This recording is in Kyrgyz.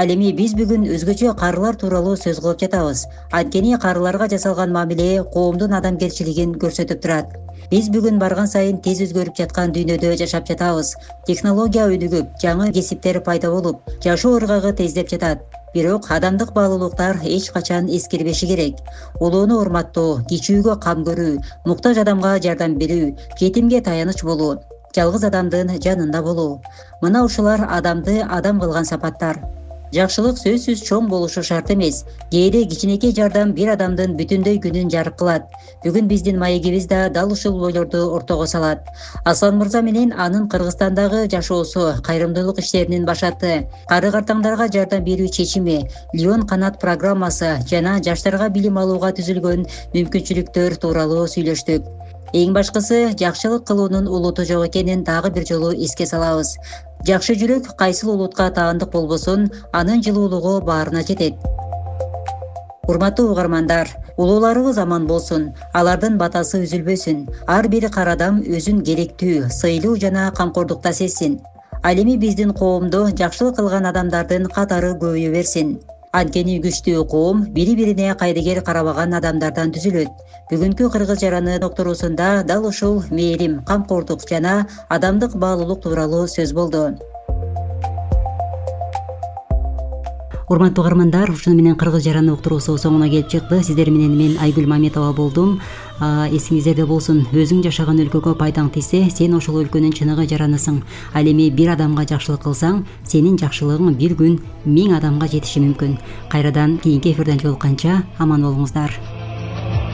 Ал эми биз бүгүн өзгөчө карылар тууралуу сөз кылып жатабыз. Анткени карыларга жасалган мамиле коомдун адамгерчилигин көрсөтүп турат. Биз бүгүн барган сайын тез өзгөрүп жаткан дүйнөдө жашап жатабыз. Технология өнүгүп, жаңы кесиптер пайда болуп, жашоо ыргагы тездеп жатат. Бирок адамдык баалуулуктар эч качан эскирбеши керек. Улууну урматтоо, кичүүгө кам көрүү, муктаж адамга жардам берүү, жетимге таяныч болуу, жалгыз адамдын жанында болуу. Мына ушулар адамды адам кылган сапаттар. Жакшылык сөзсүз чоң болушу шарт эмес. Кээде кичинекей жардам бир адамдын бүтүндөй күнүн жарык кылат. Бүгүн биздин маегибиз да дал ушул ойлорду ортого салат. Аслан мырза менен анын Кыргызстандагы жашоосу, кайрымдуулук иштеринин башаты, кары-картаңдарга жардам берүү чечими, Леон канат программасы жана жаштарга билим алууга түзүлгөн мүмкүнчүлүктөр тууралуу сүйлөштүк. Эң башкысы, жакшылык кылуунун улуту жок экенин дагы бир жолу эске салабыз. Жакшы жүрөк кайсыл улутка таандык болбосун, анын жылуулугу баарына жетет. Урматтуу угармандар, улууларыбыз аман болсун, алардын батасы үзүлбөсүн, ар бир кар адам өзүн керектүү, сыйлуу жана камкордукта сезсин. Ал эми биздин коомдо жакшылык кылган адамдардын катары көбөйө берсин. Анткени күчтүү коом бири-бирине кайдыгер карабаган адамдардан түзүлөт. Бүгүнкү Кыргыз жараны докторусунда дал ушул мээрим, камкордук жана адамдык баалуулук тууралуу сөз болду. Урматтуу угармандар, ушуну менен Кыргыз жараны уктуруусу соңуна келип чыкты. Сиздер менен мен Айгүл Маметова болдум. Эсиңиздерде болсун, өзүң жашаган өлкөгө пайдаң тийсе, сен ошол өлкөнүн чыныгы жаранысың. Ал эми бир адамга жакшылык кылсаң, сенин жакшылыгың бир күн 1000 адамга жетиши мүмкүн. Кайрадан кийинки эфирден жолукканча аман болуңуздар.